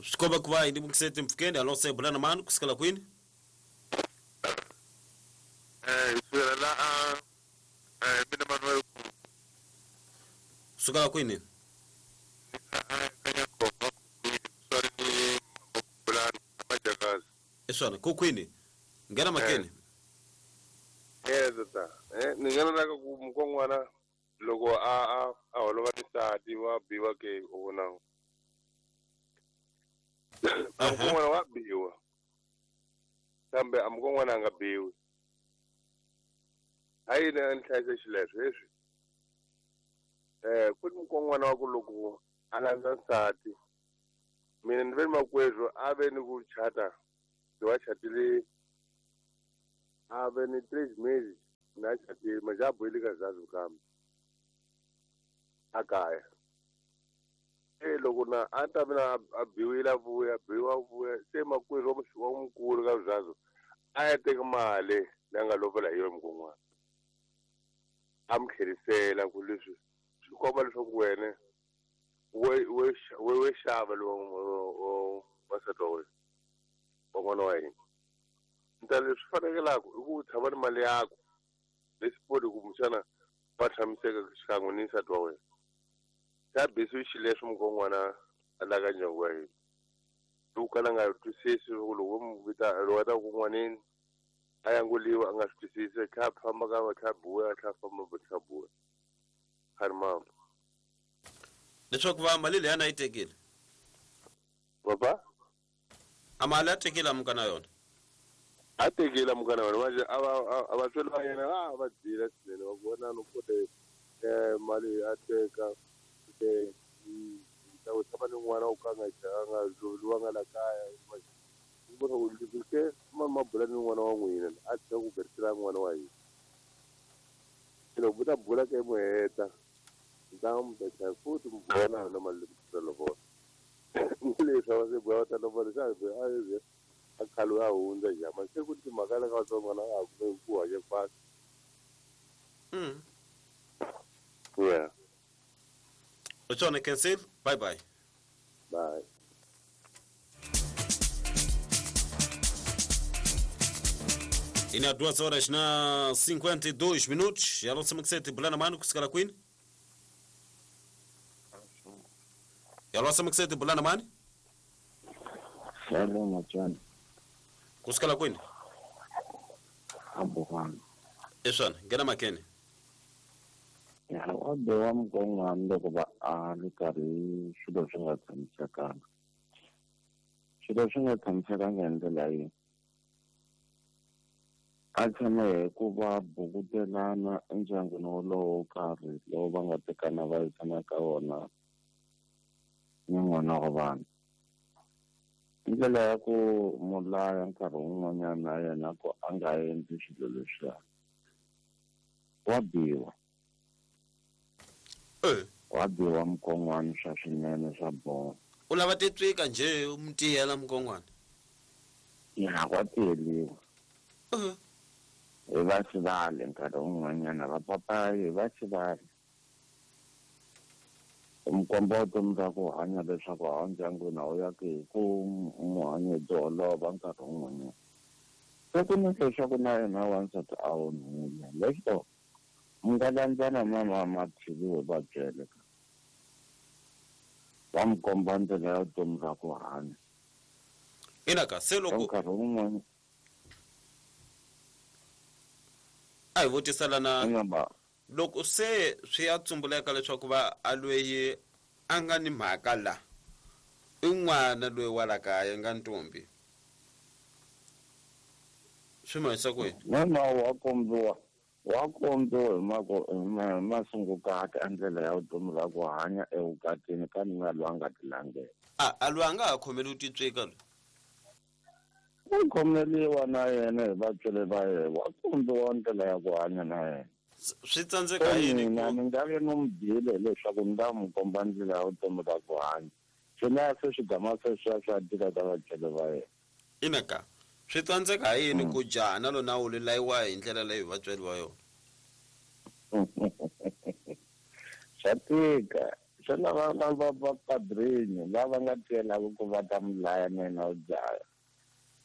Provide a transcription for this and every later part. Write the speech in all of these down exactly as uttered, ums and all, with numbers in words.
Swikomba ku va hi ndimukiseti mpfukeni alo se bulana mani kusukela kwini? Eh sukela la a eh mina Manuel sukela kwini? Eswana ku kwini? Ngena makeni. Eh tata eh ni ngena la ku mukongwana loko a a a holova tisati wa biwa ke u vona. Mukongwana wa biwa. Kambe a mukongwana a nga biwi. Hayi ni nhlayisa xileswo leswi. Eh ku ni mukongwana wa ku loko a landza nsati. Mina ni ve makwerhu a ve ni ku chata. Wa chatile a ve ni three meses na chatile majabu ile ka zazu kambe. Akaya. Eh loko na a ta mina a biwile vuya biwa vuya se makwerhu wa mukulu ka zazu a ya teka mali leyi nga lovola hi yona mukongwana. A mi tlherisela ku leswi swi komba leswaku wena we we we xava lowu wa wa wena wa n'wana wa hina. Nta leswi fanekelaka i ku tshama ni mali yakho leswi kumbexana va tshamiseka xikan'we ni nsati wa wena. Xa bisi xileswi mukongwana a laka ndyangu wa hina. Loko kala nga twisisi loko loko mu vita loko a ta ku n'wanini a yanguliwa a nga swi twisisi kha famba ka kha buya kha famba kha buya. Kharima. Leswaku va mali leyi a yi tekile. Baba? A mali a tekile mukana yona. A tekile mukana yona manje a va a va tswela yena a va dyile swinene va vona no kote eh mali a teka te ta u tshama ni n'wana u ka nga nga luwa nga la kaya manje u vona ku leswi ke ma mabula ni n'wana wa n'wina a tshika ku berisela n'wana wa hina. Loko ta bula ke mu heta nta mu ta futhi mu vona na mali leyi lovola. Leswi a va se buya va ta lovola xa a a khale a hundza jama se ku timhaka la ka vatsongo a ku ku hanya kwasi. Mm. Yeah. Uchone cancel. Bye bye. Bye. Ina duas horas na cinquenta e dois minutos. Já não sei que sete bulana mano kusikala kwini? Ya lo sama kusete bulana mani? Hello machana. Kusikala kwini? Abuhana. Eswana, ngena makene. Ya wa bewa mukongwana loko va a ri karhi swilo swi nga tshamisekanga. Swilo swi nga tshamisekanga hi ndlela yihi? A tshama hi ku va bukutelana endyangwini wolowo wo karhi lowu va nga tekana va yisana ka wona ni n'wana wa vanhu. Ndlela ya ku mulaya nkarhi wun'wanyana na yena ku a nga endli swilo leswiya. Wa biwa. Eh. Wa biwa mukongwana swa swinene swa boha. U lava titswika nje u mutiyela mukongwana? Ya wa tiyeliwa. Eh. Hi va xivale nkarhi wun'wanyana va papayi hi va xivale. Mukomba vutomi bya ku hanya leswaku hawa ndyangwini a wu ya ku hi ku muhanya hi tiholova nkarhi wun'wanyana. Se ku ni leswaku na yena wansati a onhile leswo mi nga landzana na mamathiviwe va byele ka va mi komba ndlela ya vutomi bya ku hanya. Ina ka se loko nkarhi wun'wana a hi vutisela na loko se swi ya tsumbuleka leswaku va a lweyi a nga ni mhaka la i n'wana loyi wa la kaya nga ntombi swi mahisa kwini? N'wana wa kombiwa wa kombiwa hi mako hi masungukati a ndlela ya vutomi bya ku hanya evukatini ka nuna loyi a nga tilangela. A a loyi a nga ha khomeli u titswika loyi? U khomeliwa na yena hi vatswari va yena wa kombiwa ndlela ya ku hanya na yena. Swi tsandzeka yini mina ni nga ve no mi byele leswaku ni ta n'wi komba ndlela ya vutomi bya ku hanya swi na se swigama sweswiya swa tika ka vatswari va yena. Ina ka swi tsandzeka yini ku jaha na lona wu layiwa hi ndlela leyi vatswari va yona? Swa tika Se lava va va padrinho lava nga tiyelaka ku va ta mi laya na yena u dlaya.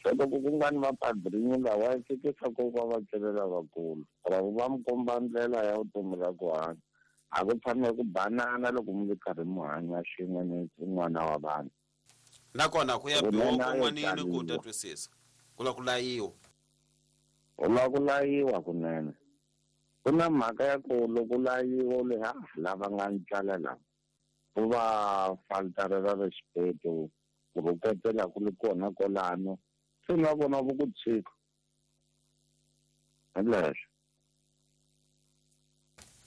Se loko ku nga ni vapadrinho lawa ya ehleketa ku va vatswari lavakulu or va mi komba ndlela ya vutomi ra ku hanya. A ku tshame ku banana loko mi ri karhi mi hanya swin'we ni n'wana wa vanhu. Nakona ku ya biwa kun'wanini ku ta twisisa. Ku la ku layiwa. U la ku layiwa kunene. Ku na mhaka ya ku loko layiwa le ha lava nga ntswala lava ku va faltarela respeto ku rhuketela ku ri kona kwalano se na vona vo ku tshika. Hi leswo.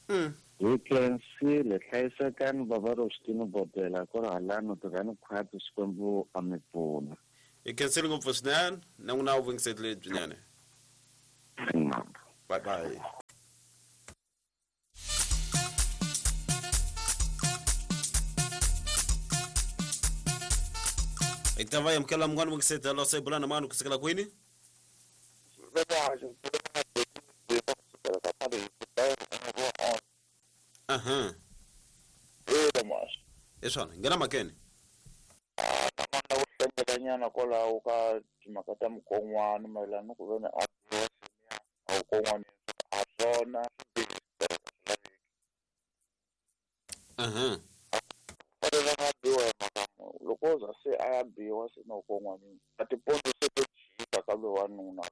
Mm. Hi khensile hlayisekani bava Rostini Botela ku ri halano tirhani khwati Xikwembu a mi pfuna. Hi khensile ngopfu swinene na n'wina u vungiseti lebyinene. Bye bye. Hi ta va amukela munghana vungiseti lo se bula na mani kusukela kwini? Aha. I swona nghena makeni. A ku hlengelanyana kwalaho ka timhaka ta mukon'wana mayelana ni ku ve ni a a mukon'wana a swona. Aha. Va nga biwa hi mhaka loko o za se a ya biwa se na mukon'wanini a tipondo se to jika ka loyi wanuna.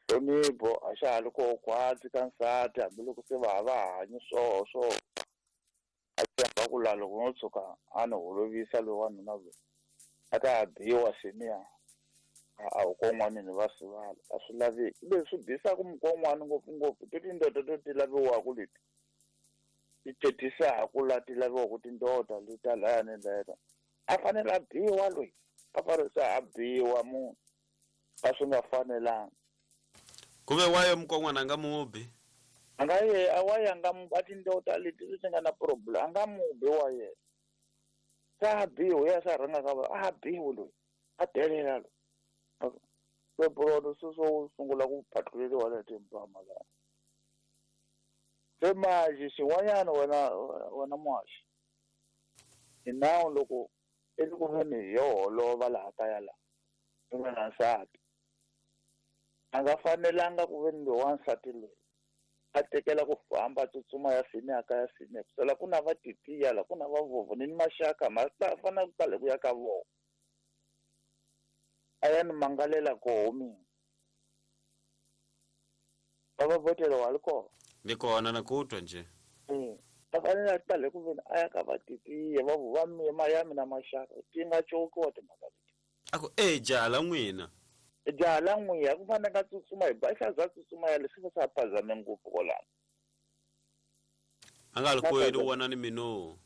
Nhlonipho a xa ha ri koho khwatsi ka nsati hambiloko se va ha va hanyi swoho swo a tshemba ku laha loko no tshuka a ni holovisa loyi wanuna loyi a ta ha biwa seniya a hukon'wanini va sivala a swi laveki. Leswi bisaka mukon'wana ngopfungopfu ti tindoda to ti laviwaka leti ti thetisaku laha ti laviwaka tindoda leta laya ni leta a fanele a biwa loyi a fanele se a biwa munhu a swi nga fanelanga. Ku ve wayo mukon'wana a nga mubi? A nga ye a wa ya nga mu a tindoda leti ti nga na problem a nga mubi wa yena. Se a biwa ya sa rhanga ka va a biwi loyi a delela loyi. Se bulono se swo sungula ku phatluleriwa la timpama laha. Se manje xin'wanyana wena wena muhaxi hi nawu loko i ri ku veni hi yo holova laha kaya laha i nga na nsati a nga fanelanga ku veni loyi wansati loyi a tekela ku famba a tsutsuma ya seniya ka ya seniya kusela ku na va titiya la ku na va vovho ni maxaka ma ta fanele ku tala ku ya ka vona a ya ni mangalela koho mina va va votela wa ri kona. Ni kona na ku twa njhe. A fanele a tale ku veni a ya ka va titiya va va ma ya mina maxaka ti nga cokiwa timhaka leti. A ku e jaha la n'wina. Jaha la n'wina ku fanele ka tsutsuma hi ba xa za tsutsuma ya leswi va sa phazame ngopfu kwalano. A nga ri ku yini wona ni mino.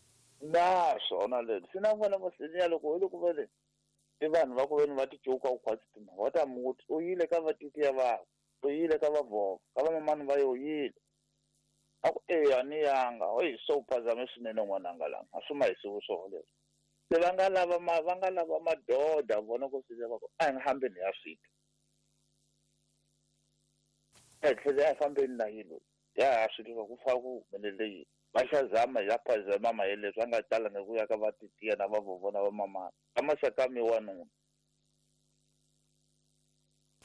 Na swona leswi swi na vona va seniya loko hi loko va le i vanhu va ku veni va ti coka ku khwatsi timhaka va ta muti u yile ka va titiya va u yile ka va vhova ka va mamani va yo yile. A ku eya ni yanga oyi so phazame swinene n'wananga lama a swi ma hisiwi swoho leswi. Se va nga lava ma va nga lava madoda vona ku swi va ku a hi nga hambeni ya switwa. A hi tlhele a hi fambeni na yilo ya ha swi tiva ku fa ku humelele yini. Va xa zama ya phazama ma leswi a nga talanga ku ya ka va titiya na va vovona va mamana ka maxaka mi wanuna.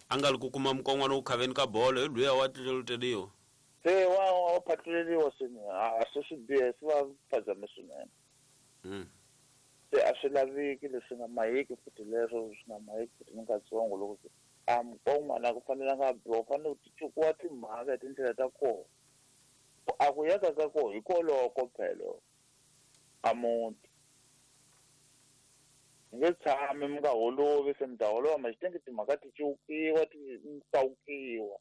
A nga ri ku kuma mukon'wana wu khaveni ka bolo hi luya wa tluluteliwa. Se wa wa phatluleriwa swinene a swi swi biha swi va phazame swinene. Mm. Se a swi laveki leswi nga mahiki futhi leswo swi nga mahiki futhi ni katsongo loko a mukon'wana a ku fanelanga a biwa u fanele ku ti cukiwa timhaka hi tindlela ta kona. A ku ya ka ka koho hi koloko phelo a muti. Mi nge tshami mi nga holovi se mi ta holova ma xitenge timhaka ti cukiwa ti kawukiwa.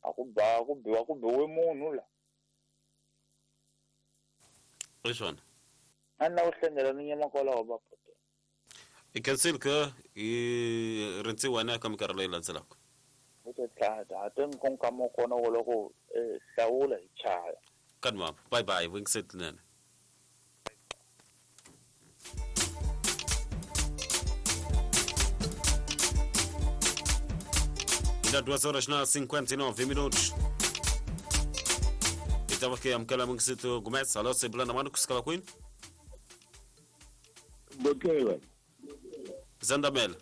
A ku ba ku biwa ku biwe munhu la. I swona. A ni la ku hlengela ni nyama kwalaho va pota. I khensile ke hi rindziwa na ka minkarhi leyi landzelaka. U ta tlhata a te nkonka mo kona wo loko hlawula hi chaya. Kanwa bye bye vungiseti nene. Ainda duas horas na cinquenta e nove minutos. Ta va ke amukela Mangosuthu Gumede. Hallo, sibula na mani kusukela kwini? Bokela. Zandamela.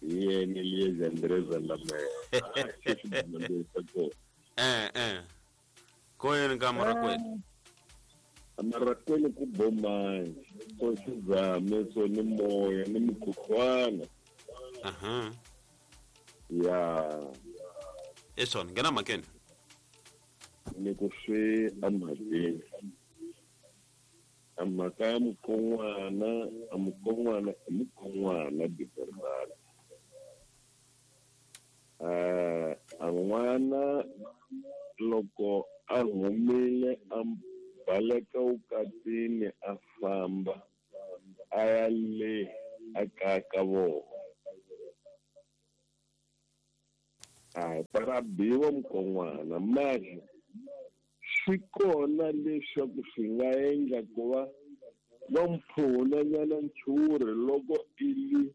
Yena Eliezer André Zandamela. Eh eh. Koyeni ka Marakwena. Marakwena ku bomani. Ko xizame so ni moya ni mukhuhlwana. Aha. Ya. Esona ngena makeni. Ni ku swi amhakeni. Amhaka ya mukon'wana, a mukon'wana i mukon'wana Bernard. Eh, a n'wana loko a humile a baleka vukatini a famba a ya le a kaya ka vona. A para biwa mukon'wana mara swi kona leswaku swi nga endla ku va va mpfuna nyana nchuri loko ili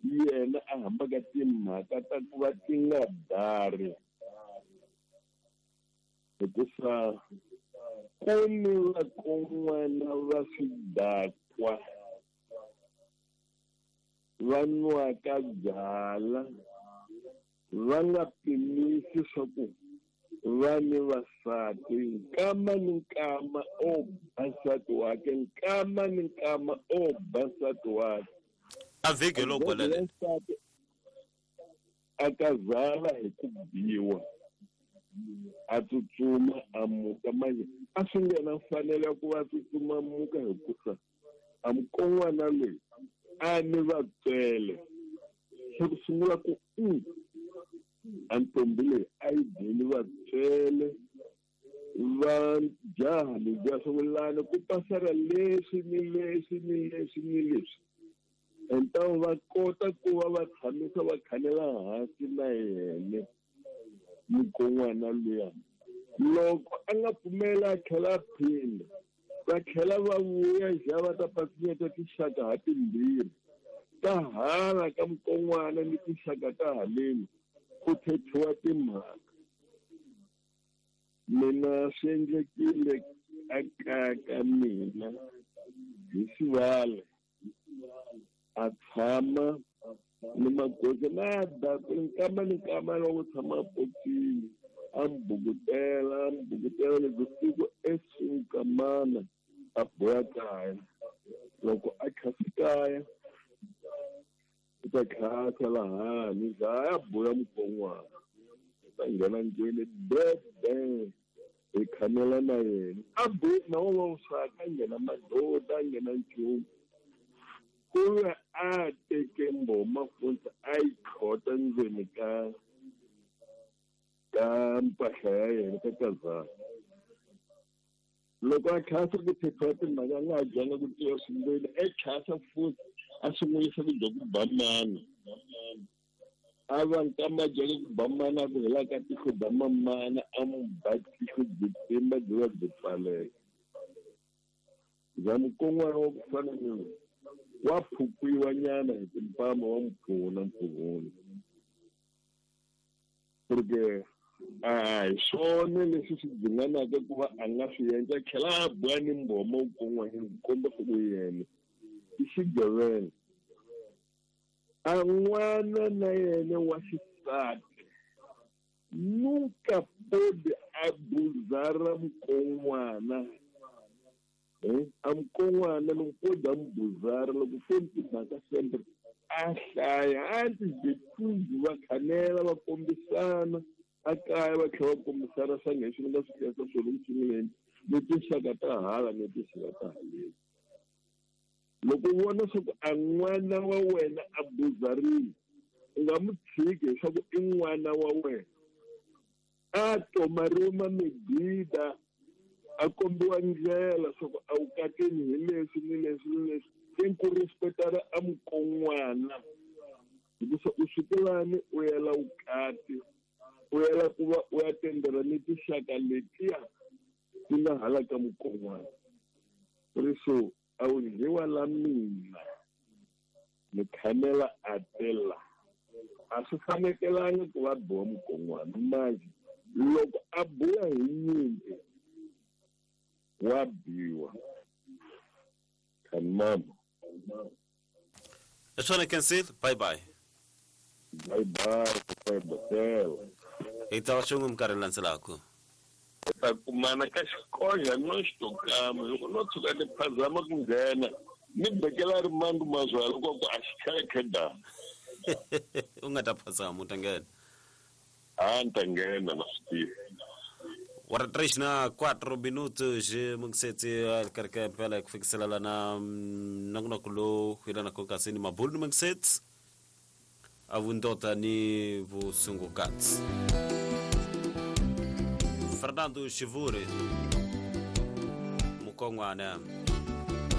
yena a hambaka timhaka ta ku va ti nga dari hikusa ku ni vakon'wana va swidakwa va nwaka byala va nga pimisi swa ku va ni vasati nkama ni nkama o ba nsati wakhe nkama ni nkama o ba nsati wakhe a vhiki loko lele a kazala hi ku biwa a tsutsuma a muka manje a swi nga na mfanelo ya ku va tsutsuma muka hikusa a mukon'wana loyi a ni vatswele se ku sungula ku u a ntombi leyi a yi byeli vatswele va jaha lebyiya swa ku pasela leswi ni leswi ni leswi ni leswi entawu va kota ku va va tshamisa va khanela hansi na yena mukon'wana luya loko a nga pfumela a tlhela a phinda va tlhela va vuya ja va ta pasinyeta tinxaka ha timbirhi ta hala ka mukon'wana ni tinxaka ta haleni ku thethiwa timhaka mina swi endlekile a kaya ka mina hi xivala a tshama ni magoza na dakwe nkama ni nkama loko tshama potini a mbukutela a mbukutela loko siku esuka mana a boya kaya loko a khasi kaya u ta khasa lahani za a boya mukon'wana u ta nghena ndlwini bebe hi khanela na yena a boya na wona wu swaka a nghena madoda a nghena nchumu ku ve a teke mboma futhi a yi khota ndzeni ka ka mpahla ya yena ka kazana loko a khasa ku thethiwa timhaka a nga ha dyanga ku tiva swindlwini e khasa futhi a sungulisa ku dya ku ba mana a va nkama dyaka ku ba mana a ku hela ka tihlo ba mamana a mu ba tihlo byi pimba byi va byi pfaleka za mukon'wana wa ku fana ni wa phukwiwa nyana hi timpama wa mpfuna mpfuhuni porque a hi swona leswi swi dzinganaka ku va a nga swi endla tlhela a boya ni mboma wu kon'wanyana ku komba swa ku yena i xigevenga a n'wana na yena wa xisati nunca pode abusar mukon'wana a mukon'wana loko pode a mubuzara loko foni timhaka sempre a hlaya a ti va khanela va kombisana a kaya va tlhela va kombisana swa nge swi nga swi tirhisa swona ku sunguleni ni tinxaka ta hala ni tinxaka ta haleni loko u vona swa ku a n'wana wa wena a buzarile u nga mu tshiki leswaku i n'wana wa wena a tomariwe mamegida a kombiwa ndlela swa ku a wu kateni hi leswi ni leswi ni leswi i ku respectara a mukon'wana hikusa u sukelani u yela vukati u yela ku va u ya tendela ni tinxaka letiya ti nga hala ka mukon'wana ri so a wu dyiwa la mina ni khanela a tela a swi fanekelanga ku va biwa mukon'wana manje Loko a buya hi nyimpi wa biwa. Mama. Swona Kensile, bye bye. Bye bye, bye. Hi ta va xin'we minkarhi landzelaka. Ta kumana ka xikonja no xitokama loko no tshuka ni phazama ku nghena ni bekela rimandu mazwala ku ku a xi khekhe da. U nga ta phazama u ta nghena. A ni ta nghena na swi tiva. Ora três na quatro minutos mungisetsi karika mpela ku fikisela lana nongonoko lowu yelanaka kasi ni mabulu ni mungisetsi a vundota ni vusungukatsi. Fernando Xivuri Mukon'wana.